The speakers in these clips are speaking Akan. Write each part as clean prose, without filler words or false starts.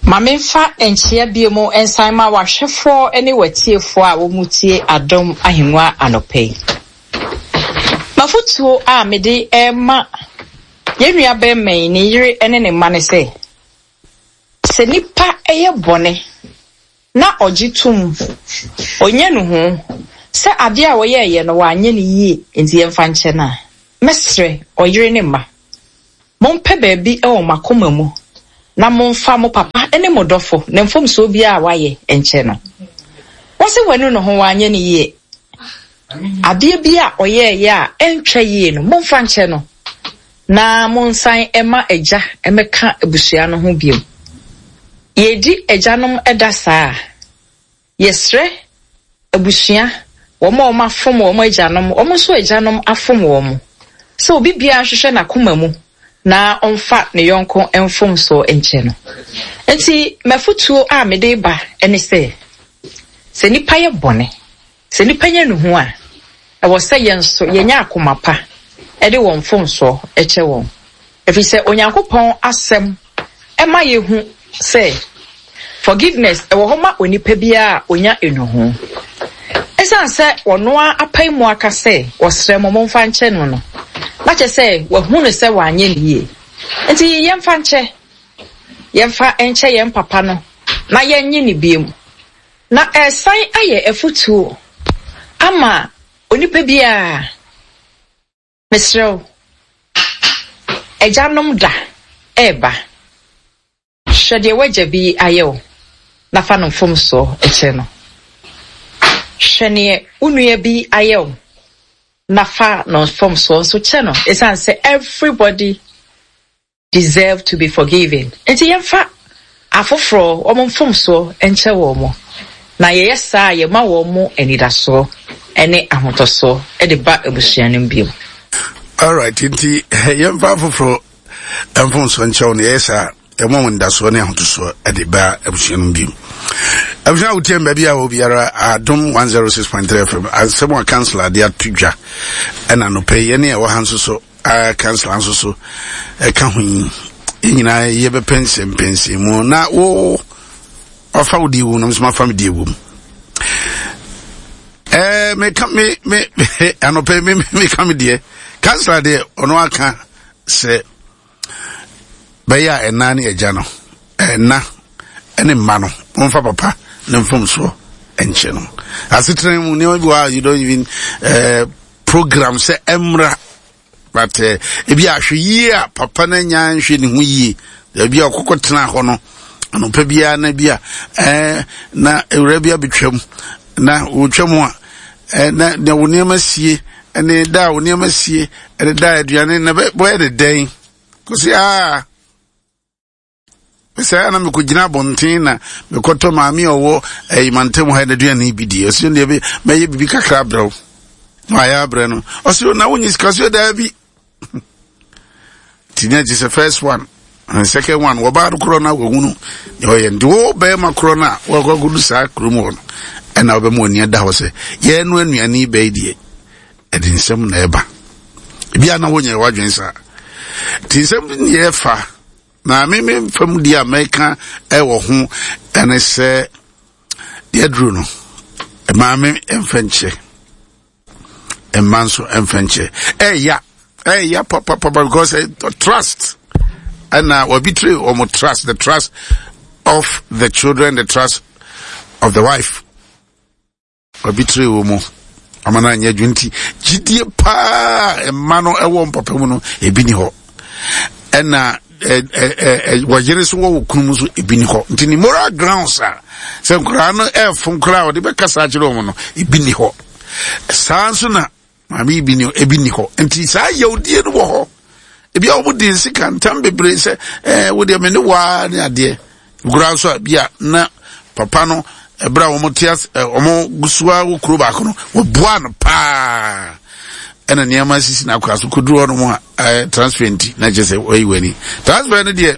Ma memfa nkyea bio mu nsan ma w'ahwɛfoɔ ne w'atiefoɔ a wɔtie Adom Ahengua anɔpa yi. M'afotuo a mede rema yɛn nua barima yi, ne yere ne ne mma ne sɛ, sɛ nipa yɛ bɔne na ɔgye tom, ɔnya nuhu sɛ adeɛ a ɔyɛeɛ no wanyɛ no yie nti yɛmfa nkyɛ no a, mɛsrɛ ɔyere ne mma, mompɛ baabi wɔ mo akoma mu na momfa mo papa ne mo dɔfo ne mfomsoɔ biara a wayɛ nkyɛ no. Wɔse wanu ne ho wanyɛ no yie. Adeɛ bi a ɔyɛeɛ a ɛntwa yie no, momfa nkyɛ no na monsan mma agya mmɛka abusua no ho bio. Yɛredi agyanom da saa a, yɛsrɛ abusua, wɔn a wɔafom wɔn agyanom, wɔn nso agyanom afom wɔn, sɛ obi biara nhwehwɛ n'akoma mu na ɔmfa ne yɔnko mfomsoɔ nkyɛ no. Enti m'afotuo a mede reba ne sɛ, sɛ nnipa yɛ bɔne, Sɛ nnipa nya nnuhu a, ɛwɔ sɛ yɛn nso yɛnya akoma pa de wɔn mfomsoɔ kyɛ wɔn, ɛfiri sɛ Onyankopɔn Asɛm ma yɛhu sɛ forgiveness wɔ hɔ ma onipa biara a ɔnya nnuhu. Ɛsiane sɛ ɔno ara apae mu aka sɛ ɔsrɛ mo momfa nkyɛ no no, na kyerɛ sɛ wahu no sɛ wanyɛ no yie. Nti yɛmfa nkyɛ, yɛmfa nkyɛ yɛn papa no na yɛnnye no bio. Na ɛresan ayɛ afotuo ama onipa biara. Mesrɛ wo, agyanom da reba. Hwɛ deɛ w'agya bi ayɛ wo na fa no mfomsoɔ kyɛ no. Hwɛ neɛ wo nua bi ayɛ wo na fa no mfomsoɔ nso kyɛ no ɛsiane sɛ everybody deserve to be forgiven. Enti yɛmfa afoforɔ wɔn mfomsoɔ nkyɛ wɔn, na yɛyɛ saa a yɛma wɔn anidasoɔ ne ahotɔsoɔ de ba abusua no mu bio. Alright, nti yɛmfa afoforɔ mfomsoɔ nkyɛ wɔn, yɛyɛ saa yɛma wɔn anidasoɔ ne ahotosoɔ de ba abusua no mu bio. Abusua a wotie baabi a obiara Adom 106.3 FM asɛm a council ade ato dwa ɛna anɔpɛ yi yɛne ɛwɔ ha nso so a kansla nso so ɛka ho yi yɛn nyinaa yɛbɛpɛnsɛmpɛnsɛn mu na wo wafa wo deɛ wom na nso mafa me deɛ wom ɛɛ meka me me anɔpɛ me meka me deɛ kansla deɛ ɔno aka sɛ bɛyɛ a ɛna ne agya no ɛna ɛne mma no wɔmfa papa ne mfomsoɔ nkyɛ no asetena mu nneɛma bi wɔ a you don't even uh, program sɛ ɛmmra but eh, ebi ahwɛ yie a papa no anya nhwɛ ne ho yie ebi a ɔkɔkɔ tena hɔ no anɔpa biara na bi a ɛɛ eh, na ewura bi abɛtwam na wɔtwam a ɛɛ eh, na na wo nneɛma sie ɛne da a wo nneɛma sie ɛne da aduane na bɛyɛ ne dɛn kɔsi aa. Mesɛe a na mekɔgyina abɔnten na mekɔtɔ maame a ɔwɔ ɛyi mantam ha n'aduane bi di. Ɔsi deɛ mɛyɛ biribi kakra abrɛ wo. Na ayɛ abrɛ no. Ɔsi na wonyi sika ɔsi daabi. Ti na gye sɛ first one and second one wɔbaa no korɔ no a wɔhunu deɛ ɔyɛ nti wo bɛrima korɔ no a wɔakɔ akɔdu saa kurom hɔ no ɛna wobɛma w'ani ada hɔ sɛ yɛn no anuane bɛyi deɛ ɛde nsɛm na ɛba ebi a na wonyɛ w'adwene saa nti nsɛm ne yɛfa Na me me fam deɛ a mɛka ɛwɔ ho ɛne sɛ deɛ aduru no maame mfa nkyɛ mma nso mfa nkyɛ ɛya ɛya papapapa because eh, trust ɛna wɔbitire wɔn trust the trust of the children the trust of the wife. Ɔbitire wɔ mu ama no anyɛ adwuma nti gyidie paa mma no ɛwɔ mpapa mu no ebi ni hɔ ɛna wɔyere so wɔ wɔ kunu mu nso ebi ni hɔ nti ne moral grounds a sɛ nkoraa no ɛɛfom koraa a ɔde bɛkasa akyerɛ wɔn no ebi ni hɔ saa nso na Maame yi bi ni ebi ni hɔ nti saa yawdie no wɔ hɔ ebi a wɔn di nsika ntam bebree sɛ ɛɛ wo deɛ me ne waa ne adeɛ nkura nso a bi a na papa no ɛbrɛ a wɔn te ase ɛ wɔn gusoa wɔ kuro baako no wɔboa no paa ɛna nneɛma sisi n'akora so koduru hɔ nom a ɛɛ transfer nti na kyerɛ sɛ wɔayi wɔn ani transfer no deɛ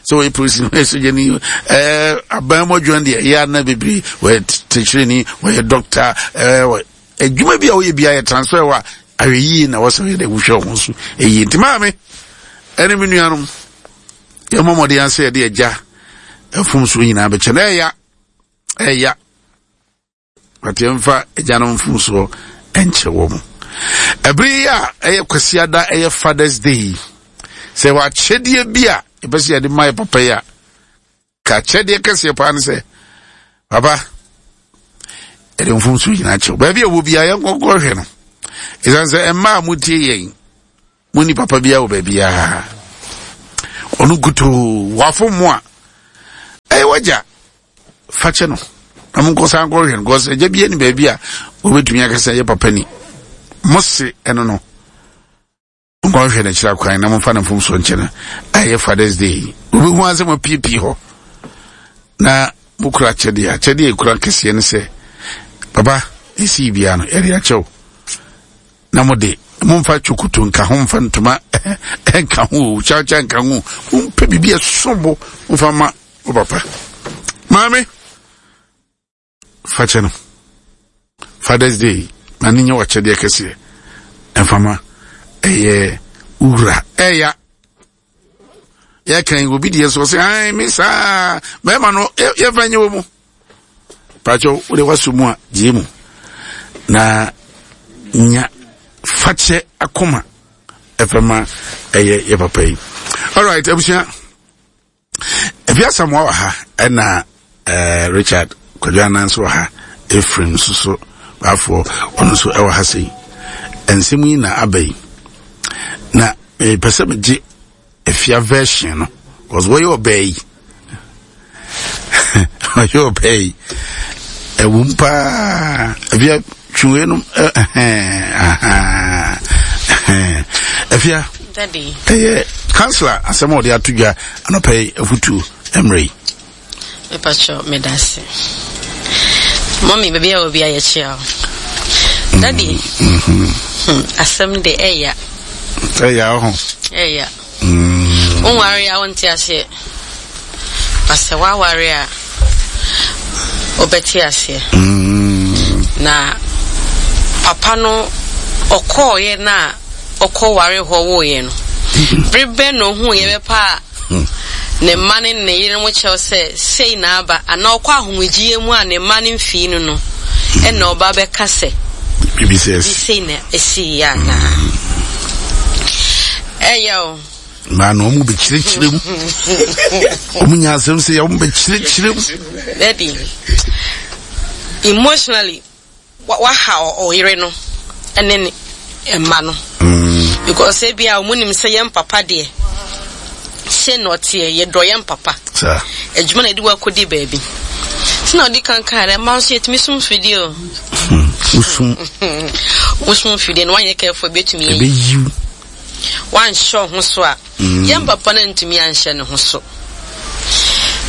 sɛ wɔyɛ polisi wɔyɛ sogyani ɛɛ aban mu adwuma deɛ ɛyɛ ana bebree wɔyɛ tikyerɛni wɔyɛ dɔkta ɛɛ adwuma bi a woyɛ biara yɛ transfer wɔ a ahwɛ yie na wɔsɛ yɛ dɛ wohwɛ wɔn so ɛyie nti maame ɛne me nuanom yɛmmɔ mmɔden ase yɛde agya mfomsoɔ nyinaa bɛkyɛ no. Ɛya, ɛya. But yɛmfa agyanom mfomsoɔ nkyɛ wɔ mu. Ɛbere yi a ɛyɛ Kwasiada, ɛyɛ Father's Day yi, sɛ wɔ akyɛdeɛ bi a yɛpɛ sɛ yɛde ma yɛ papa yi a, ka akyɛdeɛ kɛseɛ paa ne sɛ, papa, yɛde mfomsoɔ nyinaa kyɛw. Baabi a wɔ biara yɛnkɔnkɔ hwɛ no. Ɛsiane sɛ mmaa a motie yɛn, monni papa biara wɔ baabiara. Ɔno nkutoo wafom mo a, ɛyɛ wagya. Fa kyɛ no na monkɔ san nkɔhwɛ no because agya bi ne baabi a wɔbɛtumi aka sɛ ɛyɛ papa ni. Mo se ɛno no, monkɔhwɛ no akyiri akwan na momfa no mfomsoɔ nkyɛ no. Ɛyɛ Father's Day. Wobɛhu ara sɛ moapiepie hɔ na mokura akyɛdeɛ. Akyɛdeɛ a ɛkura kɛseɛ ne sɛ, papa, ɛsii biara no, yɛde akyɛw. Na mo de, momfa twokoto nka ho, mfa ntoma nka ho, kyawkyaw nka ho, mompɛ biribi a ɛsom bo momfa ma wo papa. Maame, fa kyɛ no. Father's Day, ma ne nyɛ w'akyɛdeɛ kɛseɛ. Ɛmfa ma ɛyɛ wura. Ɛya. Yɛka yi obi deɛ so ɔsɛ ai me saa bɛrima no yɛmfa nyɛ wɔ mu. Pakyɛ wode waso mu a gye mu na nya fakyɛ akoma ɛfɛma ɛyɛ yɛ papa yi. Alright, abusua. Efi Asamoah wɔ ha ɛna eh, Richard Kwadwo Anan nso wɔ ha, Ephraim nso so baafoɔ ɔno nso ɛwɔ ha sei. Nsɛm yi na aba yi. Na mepɛ sɛ megye Afia version no, cause wɔyɛ ɔbaa yi. Wɔyɛ ɔbaa yi. Ɛwom paa. Afia twe no Afia. Ɛyɛ kansla asɛm a ɔde ato dwa anɔpa yi afutuo mmerɛ yi. Mepakyɛw, meda ase. Mɔmi, baabi a obi ayɛ kyia o. Daddy, mm-hmm. asɛm de ɛya. Ɛya ɔho. Ɛya. Wonware a wonte aseɛ. Na sɛ woaware a, wobɛte aseɛ. Mm. Na papa no ɔkɔɔeɛ no a ɔkɔware hɔ woeɛ no, bere bɛn na ohuu yɛ bɛpa a ne mma ne ne yerenom kyɛw sɛ sei na aba, anaa ɔkɔ ahomegyeɛ mu a ne mma no mfii no no, ɛna ɔba bɛka sɛ biribi sei na ɛsiiɛ anaa? Ɛyɛ o. Maa na wɔn bɛkyerɛkyerɛ mu. Wɔn nya asɛm sɛ wɔn bɛkyerɛkyerɛ mu. Daddy, emotionally waha ɔyere no ne ne mma no. Mm. Because ebi a wɔn nim sɛ yɛn papa deɛ sɛ na ɔteɛ yɛdɔ yɛn papa. Adwuma na yɛde wakɔdi baabi. Sɛ na ɔde kankan dɛ mma nso yɛtumi sum fidie o. Wosum. Wosum fidie no wanyɛ careful ebetumi. Ebeyiw. Wanhyɛ wo ho so a, mm. yɛn papa no antumi anhyɛ ne ho so.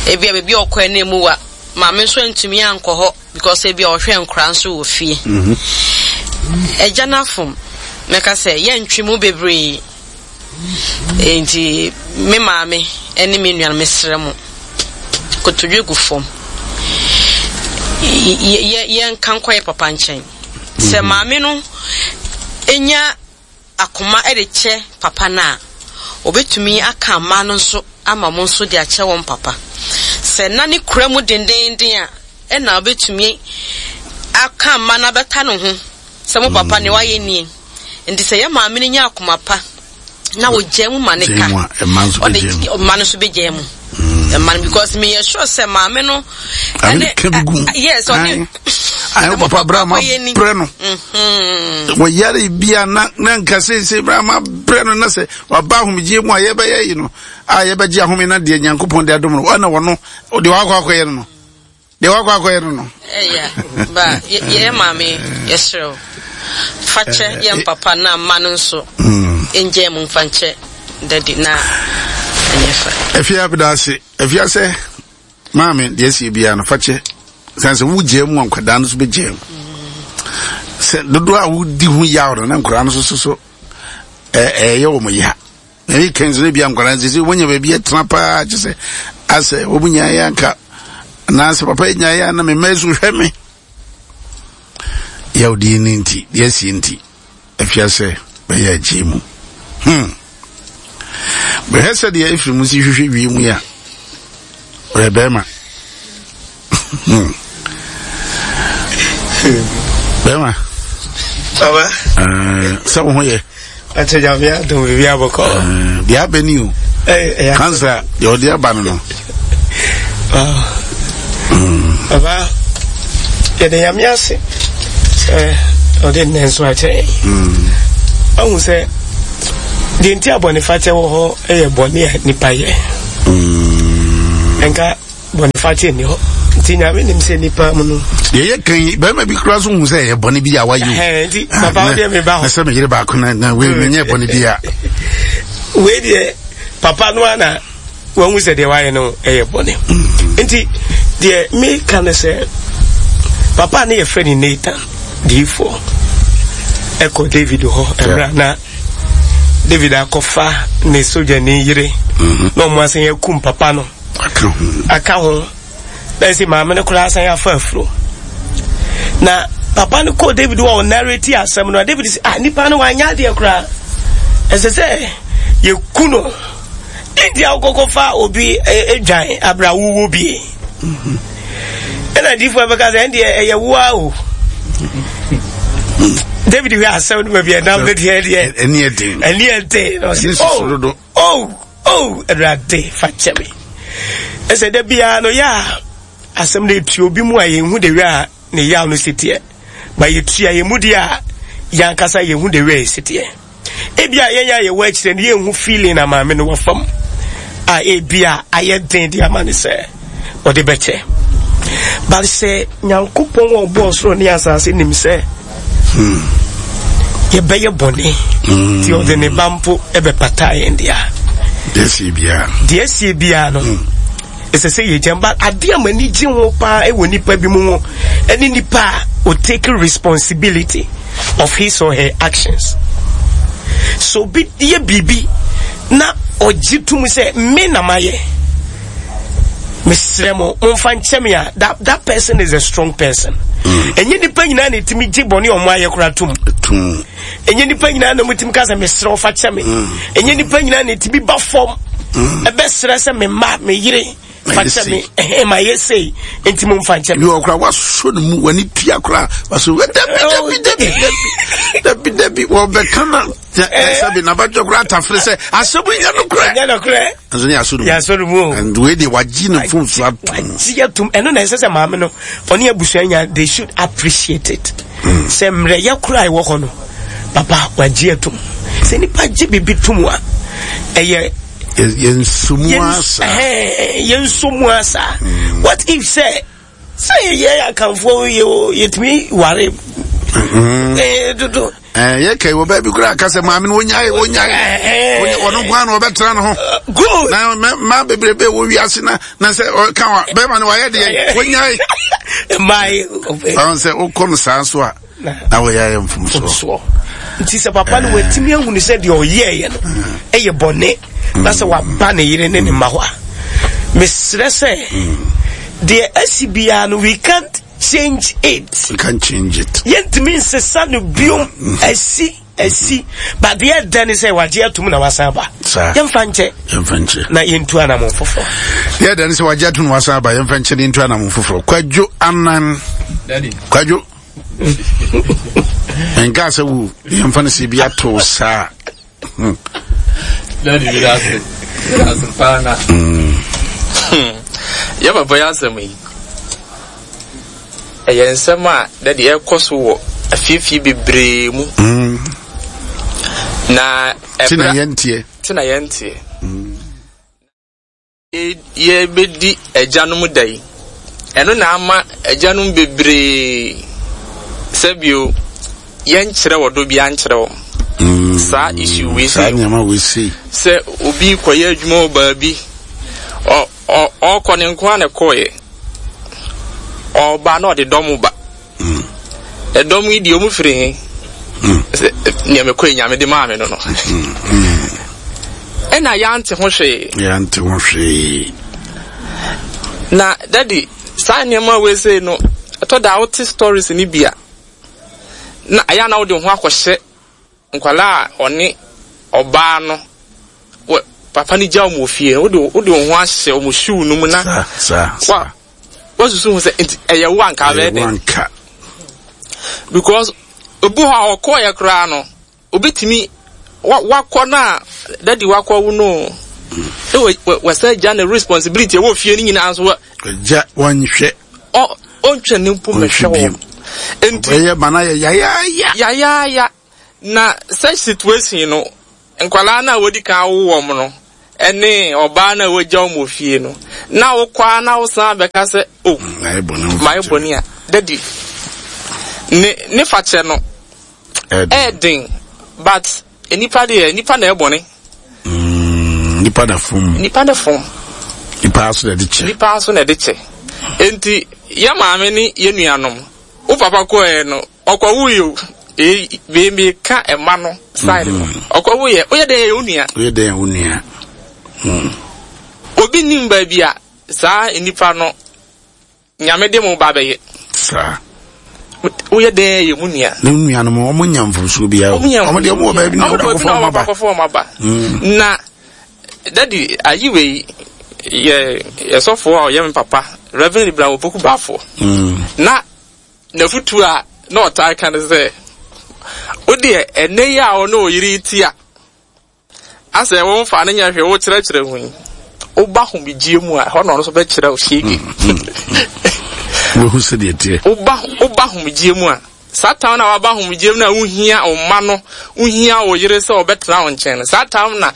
Ebi a baabi a ɔkɔɛ no emu wa, maame nso antumi ankɔ hɔ because ebi a ɔhwɛ nkora nso wɔ fie. Mm-hmm. Agya no afom, mɛka sɛ yɛntwe mu bebree. Nti me maame ne me nua no mesrɛ mo, kotodwe gu fam. Yɛnka nkɔ yɛ papa nkyɛn. Sɛ mm-hmm. maame no nya akoma de kyɛ papa no a, obetumi aka mma no nso ama wɔn nso de akyɛ wɔn papa. Sɛ na ne kura mu dendeenden a, ɛna obetumi aka mma no abɛka ne ho sɛ mo papa nea wayɛ nie. Nti sɛ yɛ maame no nya akoma pa na ogyaa mu ma ne ka, ɔde mma no nso begyaa mu. Mma no because meyɛ sure sɛ maame no ɛne ka bi gu yes ɔne ayɛ papa bra ma brɛ no mm-hmm. wɔyare bia na na nka seesei bra ma brɛ no na sɛ waba ahomegyeɛ mu a yɛbɛyɛ yi no a yɛbɛgye ahome na deɛ nyankopɔn de adom no ɔna wɔno deɛ wakɔ akɔyɛ no no deɛ wakɔ akɔyɛ no no ɛya ba yɛ maame yɛserɛ wo fakyɛ yɛn papa na mma no nso ɛngyae mu mfa nkyɛ dadi na ɛnyɛ fa afia beda ase afia sɛ Maame, deɛ ɛsi biara no, fa kyɛ. Sane sɛ wogyaa mu a nkwadaa no nso bɛgyaa mu. Sɛ dodoɔ a wodi ho yaw no na nkwadaa no nso so ɛyɛ wɔn ya. Na ɛyɛ kɛn sɛ ebi a nkwadaa no sɛ wɔnya baabi atena paa kyɛ sɛ asɛ wɔn nyaeɛ yɛ anka anaasɛ papa yi nyaeɛ a na me mma yi so hwɛ me. Yawdie no nti, deɛ ɛsi nti. Afiase bɛyɛ akyiri mu. Hmm. Bɛhwɛ sɛdeɛ Efraim si hwehwɛ wiem yi a. Ɔyɛ bɛrima. Bɛrima. Baba. Sɛ wo ho yɛ. Akyɛ nyame adom biribi abɔkɔ. Deɛ abɛ ni o. Kansa deɛ ɔde aba no no. Baba, yɛde nyame ase sɛ ɔde nnɛ nso akyɛ yɛn. Ahu sɛ deɛ nti a bɔnefakyɛ wɔ hɔ yɛ bɔne a nipa yɛ. Nka bɔnefakyɛ nni hɔ. Nti nyame nim sɛ nipa mu no. Deɛ yɛ kan yi bɛrima bi kura so hu sɛ ɛyɛ bɔne bi a wayɛ o. Nti ah, papa wo deɛ meba hɔ. Na sɛ meyere baako na na wei menyɛ bɔne bi a. Wei deɛ papa no ana wahu sɛ deɛ wayɛ no ɛyɛ bɔne. Nti deɛ meka ne sɛ papa ne yɛfrɛ ne Nathan diifoɔ ɛkɔ David hɔ ɛmmerɛ na David akɔfa ne sogyani yere mhm. na ɔmo asan akum papa no aka ho na ɛsɛ maame no koraa asan afa afuro na papa no kɔɔ David wɔ ɔnareti asɛm no a David sɛ ah nipa no wanyɛ adeɛ koraa ɛsɛ sɛ yɛku no nti a wokɔkɔfa obi adwan e, abira wowɔ bie ɛna difoɔ bɛka sɛ ɛndeɛ ɛyɛ woa o david hwɛ asɛm no baabi ɛnam no deɛ deɛ ɛne ɛden ɛne ɛden na ɔsɛ oh oh oh awurade fa kyɛ me ɛsɛ da biara no yɛ a asɛm no ɛtu obi mu a yɛnhu de wɛ a ne yaw no si teɛ ba yɛtua yɛn mu deɛ a yɛn ankasa yɛhu de wɛ si teɛ Ebia yɛn a yɛwɔ akyire no yɛnhu feeling a maame no wɔ fam a ebia ayɛ den de ama no sɛ ɔde bɛkyɛ. But sɛ Nyankopɔn a ɔbɔɔ soro ne asase nim sɛ hmm, yɛbɛyɛ bɔne hmm. nti ɔde ne ba mpo ɛbɛpata yɛn deɛ a deɛ asie biara no hmm. Ɛsɛ sɛ yɛgya ba adeɛ a m'ani gye ho paa wɔ nipa bi mu ho ɛne nipa a o take responsibility of his or her actions. So obi yɛ biribi na ɔgye tom sɛ me na mayɛ mesrɛ mo momfa nkyɛ me a that, that person is a strong person. Mm. Ɛnyɛ nipa nyinaa na ɛtumi gye bɔne ɔmo ayɛ koraa tom. Ɛnyɛ nipa nyinaa na mutumi ka sɛ mesrɛ wo fa kyɛ me. Mm. Ɛnyɛ nipa nyinaa na ɛtumi ba fam mm. ɛbɛsrɛ sɛ me mma me yere fa kyɛ me ɛhɛn ma yɛ sei nti mo nfa nkyɛ me. Yɛ ɔkora wasɔ ne mu wani tua kora wasɔ dabi dabi dabi dabi dabi wɔbɛka na sɛbi n'abadwa kora atafere sɛ asɛm nyɛ no korɛ. Nyɛ no korɛ. Nso ne yasɔ ne mu. Yasɔ ne mu o. And wei deɛ wagye ne fon so atum. Wagye atum ɛno na ɛsɛ sɛ maame no ɔne abusua nya they should appreciate it. Mm. Sɛ mmerɛyɛ koro a ɛwɔ hɔ no papa wagye atum. Sɛ nipa gye biribi tum a ɛyɛ. Yɛnsomu asa. Yɛnsomu asa. Mm. What if sɛ sɛ yɛyɛ akanfoɔ yɛ yɛtumi ware. Mm. Eh, dodo. Eh, yɛ kɛyi wɔ baabi koraa ka sɛ maame no wonyae wonyae eh, ɔno nko ara na ɔbɛtena ne ho good na mmaa bebrebe wɔ wiase na na sɛ ɔka wa bɛrima no wayɛ deɛ wonyae mmaa ɔn sɛ wokɔ no saa nso a na wɔyɛ ayɛ mfomsoɔ nti sɛ papa no watumi ahunu sɛ deɛ ɔyɛɛyɛ no ɛyɛ bɔne na sɛ waba ne yere ne ne mma hɔ a mesrɛ sɛ deɛ asi biara no we can't change it. We can't change it. Yɛntumi nsesa no biom mm. asi asi but deɛ ɛdɛ ne sɛ wagye atum na wasan aba. Yɛmfa nkyɛ. Yɛmfa nkyɛ. Na yɛntu anamon foforɔ. Deɛ ɛdɛ ne sɛ wagye atum na wasan aba yɛmfa nkyɛ na yɛntu anamon foforɔ. Kwadwo Anan. Daddy. Kwadwo. Nka sɛ wo yɛmfa no sɛ bi ato saa. Daddy mi da ase. Mi da ase paa na. Mm. Yɛ papa yɛ asɛm yi. Ɛyɛ nsɛm a daddy ɛkɔ so wɔ afiefie bebree mu. Mm. Na ɛbra. Tina yɛnteɛ. Tina yɛnteɛ. Mm. Yɛrebɛdi agyanom da yi, ɛno na ama agyanom bebree sɛbio yɛnkyerɛ ɔdɔ biara nkyerɛ wɔn. Mm, saa issue wei sei. Saa nneɛma wei sei. Sɛ obi kɔyɛ adwuma wɔ baabi, ɔkɔ ne nko ara na ɛkɔɔyɛ. Ɔba na ɔde dɔm ba. Mm. Ɛdɔm yi deɛ ɔmu firi he? Mm. Sɛ nea mekɔ yi nyame de maa me no no. Mm. Mm. Ɛna yɛante ho hwee. Yɛante ho hwee. Na daddy, saa nneɛma wei sei no, ɛtɔ da a wote stories no bi a, na ɛyɛ a na wode wo ho akɔhyɛ Nkwadaa a ɔne ɔbaa no wɔ. papa no gya wɔn wɔ fie no, wode wode wo ho ahyɛ wɔn shoe no mu na Saa, saa, wa saa. wasusu ho sɛ nti ɛyɛ wo anka Ɛyɛ abɛyɛ wo dɛn? anka. Because obi hɔ a ɔkɔɔyɛ koraa no, obetumi wa wakɔ no a dadi wakɔ wo no na wa wa wasan gya ne responsibility ɛwɔ fie no nyinaa nso wa Agya wɔnhwɛ. ɔ ɔntwa ne mpo Ɔnhwɛ mmɛhwɛ bio. wɔn. Nti Ɔbɛyɛ ma no ayɛ yayaaya. yayaaya na such situation no nkwadaa no a wɔdi kan awo wɔn no ne ɔbaa no a wɔagya wɔn wɔ fie no na wokɔ a na wosan bɛka sɛ o oh, Mayɛ bɔne mayɛ bɔne a dadi ne ne fakyɛ no ɛɛden but nipa deɛ nipa na ɛbɔne. Mm, nipa na fom. Nipa na fom. Nipa aso na ɛde kyɛ. Nipa aso na ɛde kyɛ. Enti yɛ maame ne yɛ nuanom wo papa kɔɛ no ɔkɔwo yi o ee wei meka ɛma no side no mm-hmm. ɔkɔwo yɛ woyɛ dɛn yɛ wo nua. Woyɛ dɛn yɛ wo nua. Mm. Obi nim baabi a saa nipa no Nyame de mo ba bɛyɛ. Saa. Woyɛ dɛn yɛ mu nua. Ne nuanom wɔn nya mfomsoɔ biara o. Wɔn deɛ wɔn wɔ baabi na wɔn akɔfɔ wɔn aba. Wɔn wɔn aba. Mm. Na dadi ayi wei yɛ yɛsɔfoɔ a ɔyɛ me papa Reverend Ibrahim Opoku Bafo. Mm. Na n'afutuo a na ɔtaa ka ne sɛ wodeɛ ɛnɛ yi a ɔne ɔyere ti a Asɛ wo nfa no nyɛ hwee wo kyerɛkyerɛ ho yi wo ba homegyeɛ mu a ɛhɔ na ɔno nso bɛkyerɛ wo hyege. Wohu sɛdeɛ teɛ. Wo ba wo ba homegyeɛ mu a saa tam na waba homegyeɛ mu na wohia wo mma no wohia wo yere sɛ ɔbɛtena wo nkyɛn no saa tam na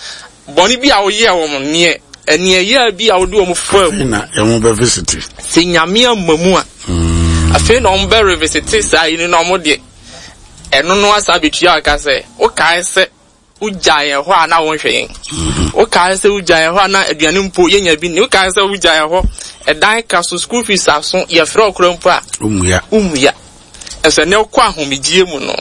bɔne bi a woyɛɛ wɔn neɛ ɛneɛ bi a wode wɔn faa mu. Na ɛho bɛ visiti. Sɛ nyame amma mu a mm. afei na wɔn bɛ revisiti saa yi no na wɔn deɛ ɛno no asa abɛtua aka sɛ wokae sɛ Wogyaa yɛn hɔ a na wonhwɛ yɛn. Wokae sɛ wogyaa yɛn hɔ a na aduane mpo yɛnya bi nni. Wokae sɛ wogyaa yɛn hɔ ɛdan ka so, school fees aso, yɛfrɛ wo koraa mpo a. Wommua. Wommua. Ɛsɛ ne wokɔ ahomegyeɛ mu no.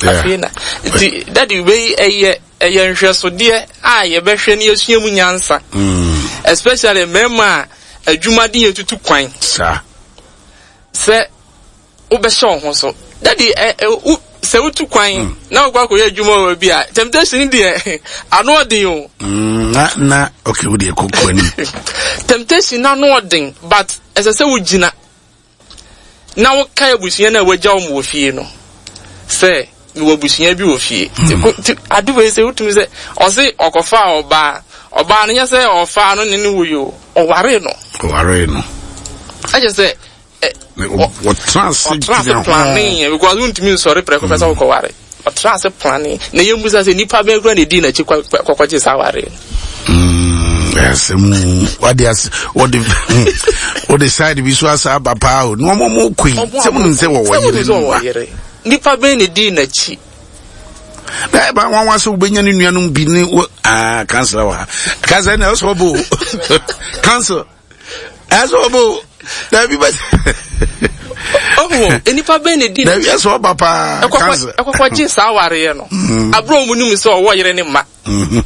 Afei na nti dadi wei ɛyɛ ɛyɛ nhwɛsodeɛ a yɛbɛhwɛ ne yɛsua mu nyansa. Mm. Especially mmarima a adwuma de yɛ tutu kwan. Saa. Sɛ wobɛhyɛ wo ho so. Daddy, ɛ ɛ wo sɛ wotu kwan mm. na wokɔ akɔyɛ adwuma wɔ bi a temptation deɛ ano ɔden o. Mm, na na okay wo deɛ kɔkɔ anim. Temptation na ano ɔden but ɛsɛ sɛ wogyina na woka abusua no a wagya wɔn wɔ fie no sɛ mewɔ abusua bi wɔ fie. Mm. Ade wei sɛ wotumi sɛ ɔse ɔkɔfaa ɔbaa ɔbaa no nyɛ sɛ ɔfaa no ne ne wo yi o ɔwaree no. Ɔwaree no. Ɛkyɛ sɛ wɔtena ase ɔtena ase planee because wontumi nsɔre prɛko pɛ sɛ mm. wokɔware ɔtena ase planee na yɛmmu sɛ nipa bɛn kura na ɛdii n'akyi kɔkɔgye saa ware mm, asɛm wade ase wɔde wɔde side bi so asa aba paa o na wɔn mo kɔ yi sɛ mo nim sɛ wɔwɔ yere nipa bɛn na ɛdii n'akyi na ɛba nwanwa sɛ wobɛnya ne nuanom bi ne wɔ aa ah, kansla wɔ ha kansla na ɛsɛ ɔbɔ o kansla ɛsɛ ɔbɔ o dabi bɛ. ɔwɔ nipa bɛn na di. Dabi ɛsɛ ɔba paa kansa. Ɛkɔkɔ gye saa awareɛ no. Mm. Aburo wɔn nim sɛ ɔwɔ yere ne mma. Mm-hmm.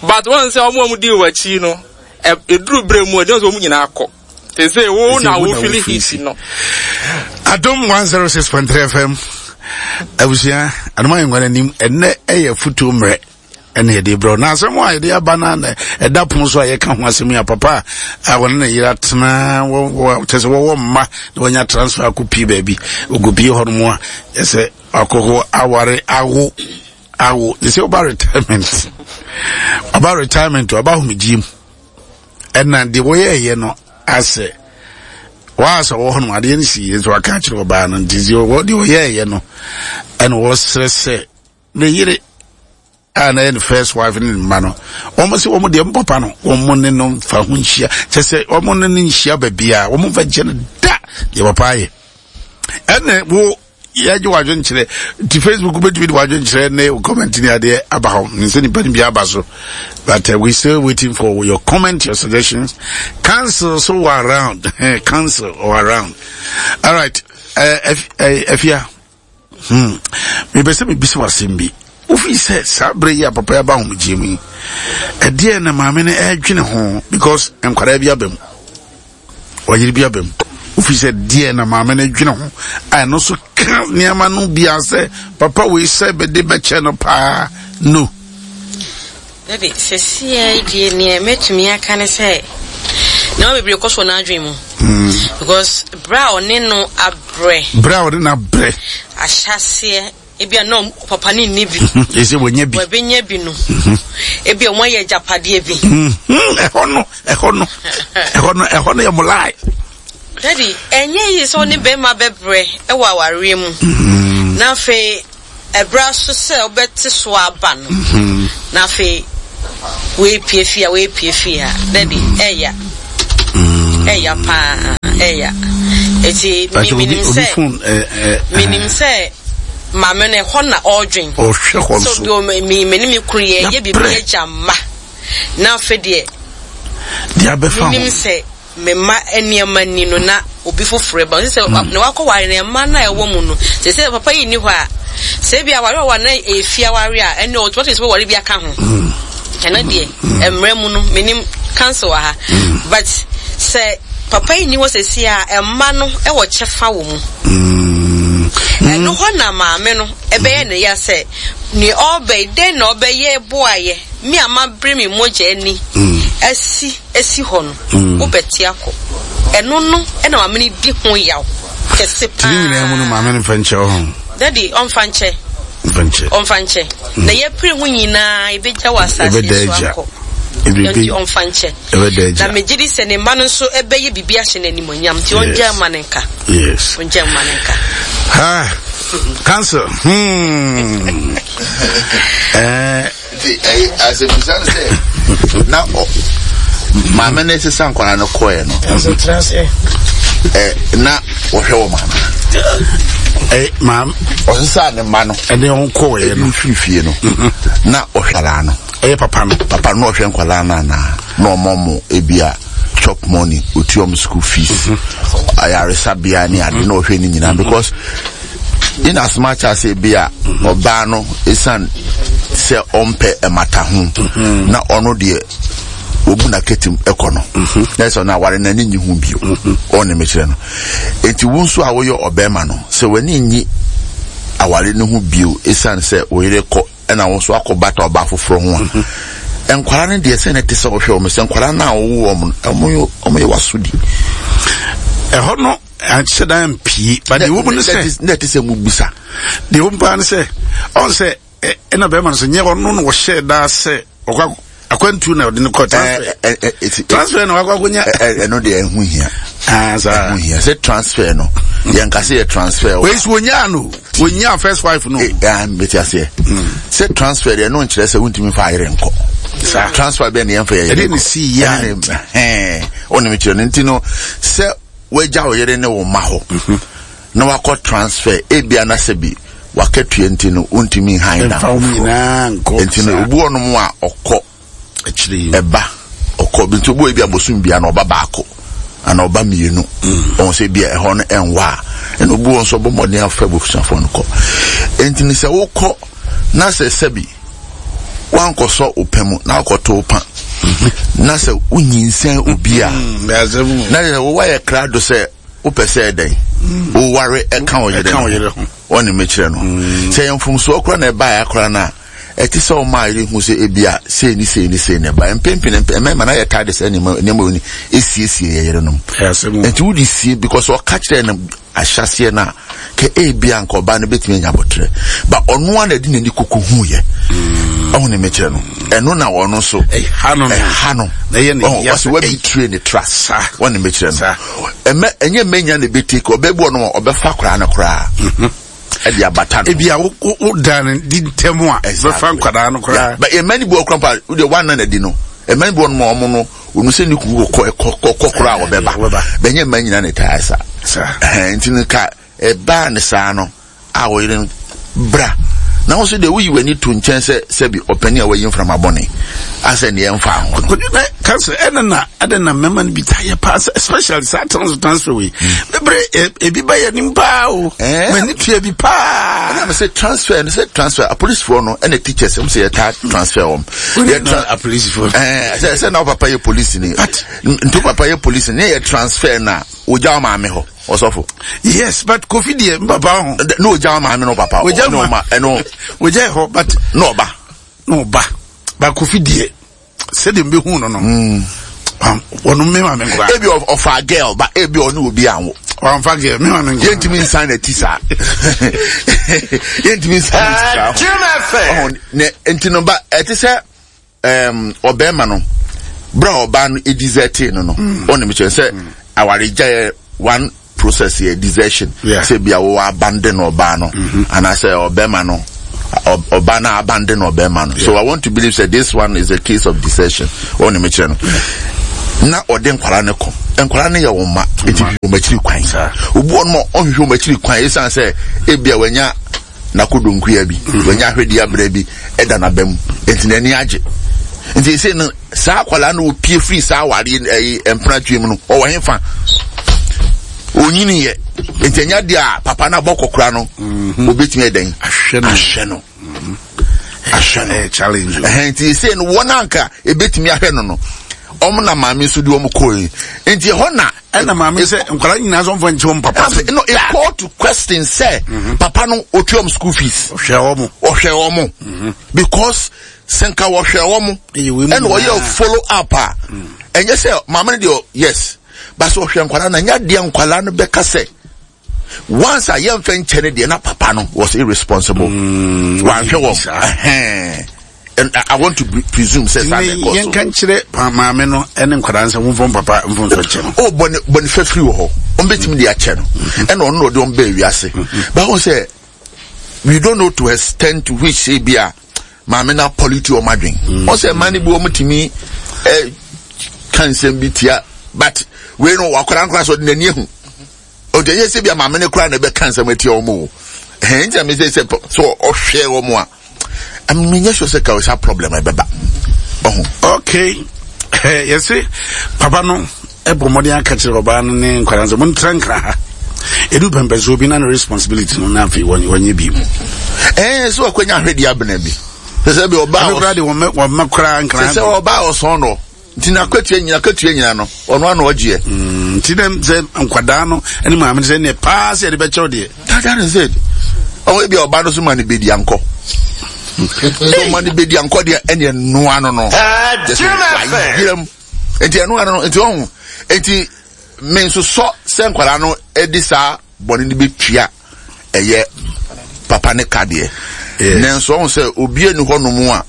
But wɔn sɛ wɔn a wɔn di wɔ akyi no eduru bere mu ɛdi wɔn sɛ wɔn nyinaa kɔ. Te sɛ wo na wo fili heat no. Adum 106.3 FM abusua anoma yɛn nkwa n'anim ɛnɛ ɛyɛ futuo mmerɛ. ɛna yɛde brɛ na asɛm a yɛde aba no na ɛda pono so a yɛka ho asɛm yi a papa a wɔne ne yere atena kyɛ sɛ wɔwɔ mma na wɔanya transfer akɔpie baabi ɔkɔpie hɔ nom a ɛsɛ akɔkɔ aware awo awo te sɛ ɔba retirement ɔba retirement ɔba ahomegyeɛ mu ɛna deɛ wɔyɛɛyɛ no asɛ wɔasɛ wɔ hɔ nom adeɛ no si yɛ nso waka akyerɛ ɔbaa no nti deɛ wɔyɛɛyɛ no ɛna wɔsrɛ sɛ ne yere a na yɛ ne first wife ne ne mma no wɔn sɛ wɔn deɛ mpapa no wɔn ne no nfa ho nhyia kyɛ sɛ wɔn ne no nhyia baabiara wɔn nfa nkyɛn no da deɛ papa ayɛ ɛna wo yɛgye wadwenkyerɛ nti facebook wobɛtumi de wadwenkyerɛ ne comment ne adeɛ aba hɔ ne sɛ nipa no bi aba so but uh, we still waiting for your comment your suggestions cancel so wɔ around cancel or around all right uh, afia uh, Hmm. Mepɛ sɛ mebisa wo asɛm bi. Wofii sɛ saa berɛ yi a papa yi aba ahomegyeɛ mu yi, ɛdeɛ na maame no ɛredwene ho because nkwadaa bi aba mu, ɔyere bi aba mu. Wofii sɛ deɛ na maame no dwene ho a ɛno nso ka nneɛma no bia sɛ papa wei sɛ bɛde bɛkyɛ no paa no. Dabi, sɛsiɛ deɛ neɛ mɛtumi aka ne sɛ nneɛma bebree kɔ so wɔ n'adwene mu. Because berɛ a ɔne no abrɛ. Berɛ a ɔne no abrɛ. Ahyɛaseɛ ebi a na papa no nni bi. Ɛsɛ wɔnya bi. Wɔbɛnya bi no. Ebi a wɔayɛ agyapadeɛ bi. Ɛhɔ no, ɛhɔ no, ɛhɔ no, ɛhɔ no yɛ molae. Daddy, ɛnyɛ yie sɛ wo ne bɛrima bɛbrɛ wɔ awareɛ mu. Na afei ɛberɛ aso sɛ wobɛte so aba no, na afei woepie fie a woepie fie ha. Daddy, ɛya. Ɛya paa, ɛya. Eti menim sɛ, menim sɛ maame no ɛhɔ na ɔredwen. Ɔhwɛ hɔ nso. So me ne me kunu yɛ yɛ biribi agya mma. Na afei deɛ, deɛ abɛfa ho. Menim sɛ Me mma nneɛma ni no na obi foforɔ ba. Sɛ na wakɔ ware no mma no a ɛwɔ mu no sɛ sɛ papa yi nni hɔ a sɛ ebi aware ɔwɔ na ɛyɛ fie aware a ɛne ɔtumi sɛ wɔware bi aka ho. Ɛno deɛ mmerɛ mu no menim council wɔ ha but sɛ papa yi nni hɔ sɛsi a mma no ɛwɔ kyɛfa wɔ mu. Ɛno hɔ na maame no ɛbɛyɛ ne ya sɛ nea ɔbɛ yi dɛn na ɔbɛyɛ boayɛ me a mabere me mogya ani asi asi hɔ no, wobɛte akɔ. Ɛno no na maame no di ho yaw kɛse paa. Tiri nyinaa mu no maame no mfa nkyɛ ɔho. Daddy, ɔmfa nkyɛ. Mfa nkyɛ. Ɔmfa nkyɛ. Na yɛpere ho nyinaa ebegya wɔ asase so akɔ. Nti ɔmfa nkyɛ. Na megye di sɛ ne mma no nso ɛbɛyɛ biribi ahyɛ no animuonyam nti ɔngya mma no nka. Yes. Ɔngya mma no nka. Ha. Council. Hmm. Eh. Nti ɛyɛ asɛmisa no sɛ na ɔ maame no sesa nkwadaa no kɔɛ no ɛ na ɔhwɛ wɔ maame ɛ maame ɔsesa ne mma no ɛne ɔn kɔɛ no firi fie no na ɔhwɛ nkwadaa no ɛyɛ papa no papa no ɔhwɛ nkwadaa no anaa na ɔmɔ mo ebia chop money otua ɔmo school fees ayaresabea ne ade na ɔhwɛ ne nyinaa because in as much as ebi a ɔbaa no esan sɛ ɔmpɛ ɛmata ho na ɔno deɛ obu na ketem ɛkɔ no na ɛsɛ ɔno aware n'ani nyi ho bio ɔne mekyerɛ no eti wo nso a woyɛ ɔbɛrima no sɛ w'ani nyi aware no ho bio esan sɛ wo yere kɔ ɛna wo nso akɔ bata ɔbaa foforɔ ho a nkwadaa no deɛ sɛ na ɛte sɛ ɔhwɛ wɔn sɛ nkwadaa no a wɔwɔ wɔn no wɔn yɛ wasodi ɛhɔ no anhyɛ da ampie but deɛ ɛwɔ mu no sɛ na ɛte sɛ mu bisa deɛ ɛwɔ mu paa no sɛ ɔn sɛ ɛna bɛrima no sɛ nyɛ ɔno na wɔhyɛ daa sɛ ɔkɔ akwantu na ɔde no kɔ transfer transfer na wakɔ akɔnya ɛno deɛ ɛho hia ah, ɛho hia sɛ transfer no yɛn ka sɛ yɛ transfer wei so wɔnyaa no wɔnyaa first wife no mete aseɛ sɛ transfer deɛ ɛno nkyerɛ sɛ wontumi fa ayere nkɔ transfer bɛɛ ne yɛmfa yɛyere nkɔ ɛne si yɛ ɔne mekyerɛ no nti no sɛ wagya wo yere ne wo mma hɔ mhm. na wakɔ transfer ebia na sɛ bi wakatua nti no wontumi nhan da foforɔ nti no obi wɔ nom a ɔkɔ ɛba ɔkɔ bi nti obi wɔ ebi abosom bia na ɔba baako ana ɔba mmienu mm. ɔn sɛ bia ɛhɔ no ɛnwa a ɛna obi wɔ nso ɔbɔ mmɔden afa abusuafoɔ no kɔ nti no sɛ wokɔ na sɛ sɛbi wankɔsɔ wo pɛ mu na wakɔto wo pa na sɛ wonyinsɛn obi a mm, na sɛ woayɛ krado sɛ wopɛ sɛ ɛdɛn mm. woware ɛka wo yere ho ɔne mekyerɛ no mm. sɛ yɛ mfomsoɔ kora na ɛbaeɛ akora no a ɛte sɛ ɔma yere hu sɛ ebi a sei ne sei ne sei na ɛbaeɛ mpempene mmarima na yɛtaa de sɛ nneɛma nneɛma wɔ ni esiesie yɛ yerenom nti wode sie because ɔka kyerɛ no ahyɛaseɛ no a, kɛ ebia anka ɔbaa no bɛtumi anya aboterɛ. Ba ɔno ara na ɛde n'ani koko huiɛ. Ɔho ne mekyerɛ no. Ɛno na ɔno nso ɛha no. Ɛha no. Ɔsɛ wabitire ne trust. Ɔne mekyerɛ no. Ɛmɛ ɛnyɛ mɛnya na ɛbɛtake ɔbɛ bi ɔno ɔbɛfa koraa no koraa. Mhm. Ɛde abata no. Ebi a wo dan no di ntɛm a bɛfa nkwadaa no koraa. Ba ɛmɛ ni bi wɔ koraa mpa wo deɛ wɔn anan adi no. Ɛmɛ ni bi wɔ no ma ɔmo no. Onu sɛ ne kunu kɔ kɔ koraa a ɔbɛba. Bɛnyɛ mmaa nyinaa na ɛtaa sa. Nti no ka ɛbaa ne saa no a ɔyere no bra na wo nso deɛ woyi w'ani to nkyɛn sɛ sɛbi ɔpani a wayi mframa bɔne asɛ neɛ ɛmfa ho no. Kansa ɛna na ɛna na mmarima no bi taa yɛ paa especially saa transfer transfer wei bebree ebi ba yɛ nim paa o mɛ ne tua bi paa. Ɛna mɛ sɛ transfer no sɛ transfer apolisifoɔ no ɛna teachers ɛmu sɛ yɛ taa transfer wɔn. yɛ tra apolisifoɔ. ɛɛ sɛ sɛ na wo papa yɛ polisi ni nti wo papa yɛ polisi ni yɛ transfer na ogya wo maame hɔ ɔsɔfo. yes but kofi deɛ n papa ho. na ogya wo maame no papa. ogya ma ɛno. ogya hɔ but. na ɔba. na ɔba. Ba Kofi deɛ sɛdeɛ mbɛhu no no wɔn mi maame nkora. Ebi ɔfa girl ba ebi ɔne obi anwo. Ɔnfa girl mi maame nkora. Yɛntumi nsan na ti saa. Yɛntumi nsan na ti saa. Jim FM. Ɔhɔn ne nti no ba ɛte sɛ ɛɛm ɔbɛrima no bere a ɔbaa no edizɛtee no no ɔne mi kyerɛ sɛ awaregya yɛ one process yɛ desertion sɛ bia wowɔ abandon ɔbaa no mm-hmm. anaasɛ ɔbɛrima no ɔbaa no abandon ɔbɛrima no so I want to believe that this one is a case of desertion ɔne mi kyerɛ no na ɔde nkwadaa no kɔ nkwadaa no yɛ wɔn mma eti hwehwɛ wɔn akyiri kwan obi wɔn ma ɔhwehwɛ wɔn akyiri kwan esan sɛ ebia wɔanya n'akodonkuya bi mm-hmm. wɔanya ahwɛdi abira bi ɛda n'aba mu eti n'ani agye nti ese no saa akwadaa no opie firi saa awareɛ ɛyi mpenatwe mu no ɔwɔ hefa onyini yɛ nti ɛnya deɛ a papa no abɔ kɔkora no mhm. obetumi ɛdɛn ahwɛ no ahwɛ no mhm. ahwɛ no challenge ɛhɛn nti ese no wɔn anka ebetumi ahwɛ no no wɔn na maame nso de wɔn kɔɔ yi nti ɛhɔ na. ɛna maame sɛ nkwadaa nyinaa sɛ ɔmfa nkyɛn wɔn papa. no it call to question sɛ mhm. papa no otua wɔn school fees. ɔhwɛ wɔn. ɔhwɛ wɔn because. Sɛ nka wɔhwɛ wɔn ɛna wɔyɛ follow up a ɛnyɛ sɛ maame no deɛ yes but sɛ ɔhwɛ nkwadaa no ɛnyɛ adeɛ nkwadaa no bɛka sɛ once a yɛmfɛ nkyɛn no deɛ na papa no was irresponsible mm, wanhwɛ wɔn and I want to presume sɛ saa na ɛkɔ so. Yɛnka nkyerɛ maame no ɛne nkwadaa nsɛ wɔn fɔm papa mfomso kyɛ no. O bɔne bɔne fɛfiri wɔ hɔ wɔn bɛtumi de akyɛ no ɛna ɔno na ɔde wɔn bɛɛ wiase báwo sɛ we don't know to extend to which ebi a. maame no apɔliti wɔn adwen mm. ɔsɛ mmaa no bi wɔn tumi ɛ ka nsɛm bi tia but wei no wakora nkora so ɔde n'ani ehu ɔde ɛyɛ sɛ bi a maame no kora na ɛbɛka nsɛm atia wɔn o ɛhɛn nti na mi sɛ sɛ so ɔhwɛ wɔn a menyɛ sure sɛ ka sa problem ɛbɛba ɔho. okay yɛse papa no ɛbɔ mmɔden aka kyerɛ ɔbaa no ne nkwadaa sɛ montra nkra ha ɛdu pɛmpɛsoɔ bi na ne responsibility no na afei wɔnyɛ bi mu ɛɛ sɛ wakwanya ahwɛdeɛ abena bi sɛ sɛ bi ɔbaa ɔkora de wɔmma koraa nkra sɛ sɛ ɔbaa ɔsɔn no nti n'akatua nyina akatua nyina no ɔno ano ɔgyeɛ mm, nti dɛ sɛ nkwadaa no ne maame no sɛ neɛ paa sɛ yɛde bɛkyɛw deɛ that is it ɔwɔ ebi a ɔbaa no so ma no bɛdi ankɔ sɛ ɔma no bɛdi ankɔ deɛ ɛneɛ noa no no wayerɛ mu nti ɛno ano no nti ɔho nti me nso sɔ sɛ nkwadaa no de saa bɔne no bɛtua ɛyɛ papa ne ka deɛ nanso ɔho sɛ obi ani hɔ nom a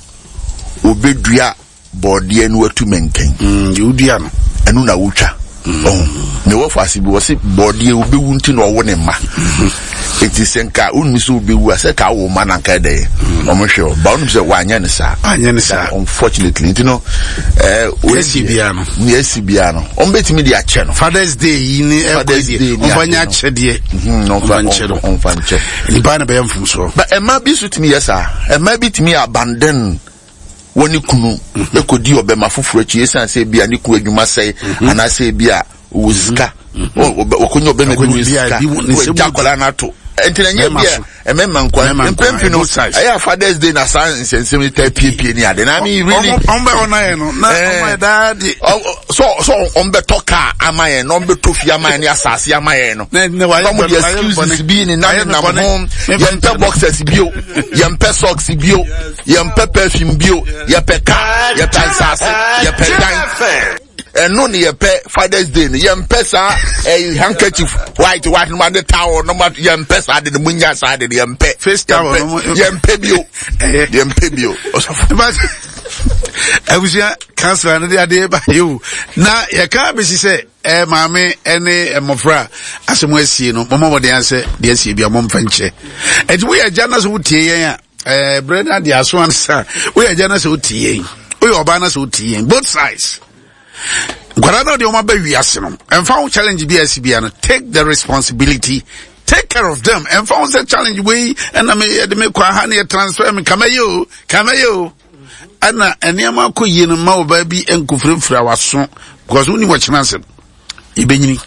obɛdua bɔɔdeɛ no watu mɛnkɛn mm, wodua no ɛno na wotwa mm. ɔho ne wɔfo ase bi wɔ se bɔɔdeɛ wobɛwu nti na ɔwo ne mma mm-hmm. Enti sɛ nka wonnim sɛ wobɛwu a, sɛ ka wo ma na nka ɛdɛn mm. wɔn hwɛ o ba wonim sɛ wanyɛ ne saa. Anyɛ ne saa. Unfortunately nti no ɛɛ eh, esi biara no. Nea esi biara no wɔn bɛtumi de akyɛ no. Father's Day yi ne ɛkɔ yi deɛ wɔn nyɛ akyɛdeɛ. Mhm, wɔn nkyɛ no. Wɔn fa nkyɛ. Nipa na bɛyɛ mfomsoɔ. Ba ɛma bi nso tumi yɛ saa ɛma bi tumi abandon wɔn ne kunu mhm. ekodi ɔbɛma foforɔ akyi esan sɛ ebi a ne kunu adwuma sɛe mhm. anaasɛ ebi a ɔwɔ sika wɔkɔnya ɔbɛma bi wɔ sika wɔagya akwadaa no ato nti na nyɛ bi a ɛmɛma nkwa mpɛn no ɛyɛ a fathers day na saa nsɛnsɛm yi taa piepie ni ade na mi really ɔn bɛ ɔna yɛ no na ɔn bɛ daa di so so ɔn bɛ tɔ kaa ama yɛn na ɔn bɛ tɔ fi ama yɛn ne asase ama yɛn no na ɔmo de excuses bi ne nam nam ho yɛn pɛ boxers bio yɛn pɛ socks bio yɛn pɛ perfume bio yɛ pɛ kaa yɛ pɛ asase yɛ pɛ dan. ɛno ne yɛpɛ fathers day no yɛmpɛ saa ɛyi eh, handkerchief white white no ma de towel no ma yɛmpɛ saa de no mu nya saa de no yɛmpɛ face towel no yɛmpɛ bio yɛmpɛ bio abusua kansila no de adeɛ ba yi o na yɛka bɛsi sɛ ɛ maame ɛne mmɔfra asɛm asie no mɔmɔ mɔden asɛ deɛ asie bi a mɔmfa nkyɛ ɛnti woyɛ agya no sɛ wotie yɛn a ɛɛ berɛ no adeɛ aso ansa woyɛ agya no sɛ wotie yɛn woyɛ ɔbaa no sɛ wotie yɛn both sides nkwadaa no deɛ wɔn aba wiase no ɛnfa ho challenge bi a ɛsi bia no take the responsibility take care of them ɛnfa ho sɛ challenge wei ɛna me yɛde me kɔ aha ne yɛ transfer me kama yɛ o kama yɛ o ɛna nneɛma akɔ yie no mma ɔbaa bi nkofirafira waso because wonni wɔkyena asɛm yɛbɛnyini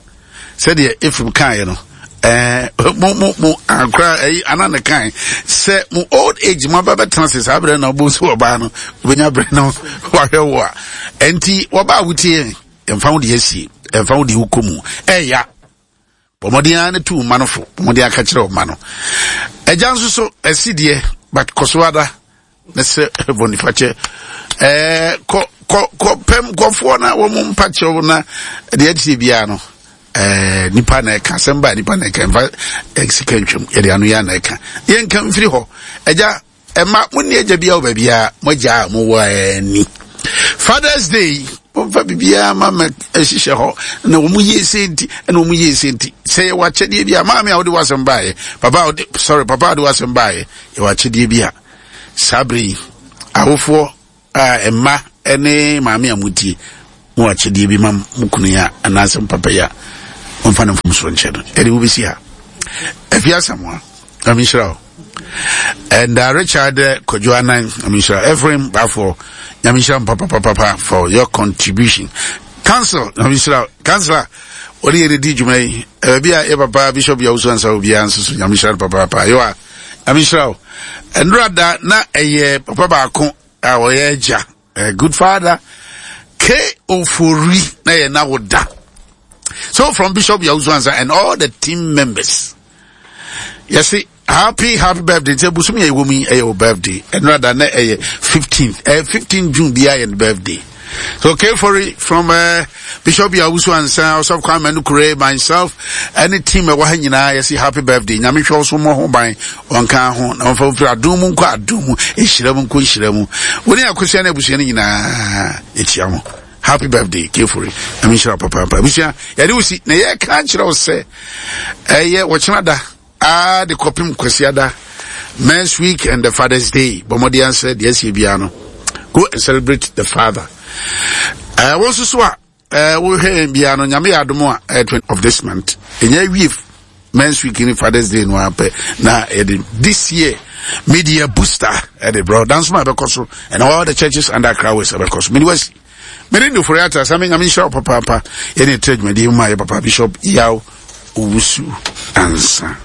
sɛdeɛ Ephraim kaeɛ no ɛɛ mo mo mo akora ɛyi ana ne kan sɛ mo old age mo aba bɛtena ase saa berɛ na ɔbɔ so ɔbaa no wobɛnya berɛ no wahwɛ wo a ɛnti wɔba a wotie ɛmfa wo deɛ asie ɛmfa wo deɛ wokɔ mu ɛya bɔ mmɔden ara ne tu mma no fo bɔ mmɔden aka kyerɛ ɔma no agya nso so ɛsi deɛ but kɔ so ada na sɛ bɔnifakyɛ Ɛɛ kɔ kɔ kɔ pɛm kɔfoɔ na wɔn mpakyɛw na deɛ ɛteɛ biara no ɛɛ nipa na ɛka asɛm ba nipa na ɛka nfa sika ntwam yɛde ano yɛ na ɛka yɛnka mfiri hɔ ɛgya ɛma mo ni agya biara wɔ baabiara mo agya a mo wɔ ani fathers day wɔmfa biribiara ma ma ɛhyehyɛ hɔ na wɔn yie se nti ɛna wɔn yie se nti sɛ yɛwɔ akyɛdeɛ bi a maame a wɔde w'asɛm baayɛ papa a wɔde sorry papa a wɔde w'asɛm baayɛ yɛwɔ akyɛdeɛ bi a saa bere yi awofoɔ a mma ne maame a motie mo akyɛdeɛ bi ma mo kunu yi a anaasɛ mo papa yi a wɔmfa no mfomsoɔ nkyɛ no ɛde wobɛsi ha afi asamoa nyame nhyira wo and uh, Richard uh, Kojo Anan nyame nhyira Ephraim Bafo nyame nhyira mo papapapapa for your contribution council nyame nhyira councilor wɔde yɛ di dwuma yi baabi a yɛ papa bishop yawusu ansa obiara nso so nyame nhyira no papaapa yɛwa Nyame nhyira wo. Ɛnora da na ɛyɛ papa baako a ɔyɛ agya, a good father, K. Ofori na yɛ na wo da. So from Bishop Yawusu Ansa and all the team members. Yɛsi happy happy birthday. Nti ebusum yɛ ɛwɔ mu yi ɛyɛ wo birthday. Ɛnora da na ɛyɛ 15th. Ɛyɛ 15 June bi ayɛ no birthday. So K. Ofori from uh, Bishop Yawusu Ansa, Osofo Kwame Nukure, myself, ɛne team ɛwɔ ha nyinaa yɛsi happy birthday. Nyame hwɛ wo so mmɔ ho ban, ɔnka ho, na ɔmfa mfiri adom mu nkɔ adom mu, nhyira mu nkɔ nhyira mu. Wo ne akosua ne abusua no nyinaa yɛkyia mo. Happy birthday, K. Ofori. Nyame nhyira wo papaapa. Abusua, yɛde wo si, na yɛka kyerɛ wo sɛ, ɛyɛ wɔkyena da, aa de kɔpem Kwasiada, Men's Week and the Father's Day. Bɔ mmɔden ansɛ deɛ asie biara no. Go and celebrate the father. Eh, wo nso so a eh, wohwɛ yɛn biara no, Nyame yɛ adom a eh, 20 of this month. Ɛnyɛ awie Men's Week ne Father's Day no apɛ na yɛde this year media booster ɛde brɛ dansoma ɛbɛkɔ so and all the churches under Accra West ɛbɛkɔ so. Mene wasi. Mene Ndofori Ata sɛ Nyame nhyira wo papaapa. Yɛne ɛtrɛ dwumadie mu ma yɛ papa Bishop Yaw Owusu Ansa.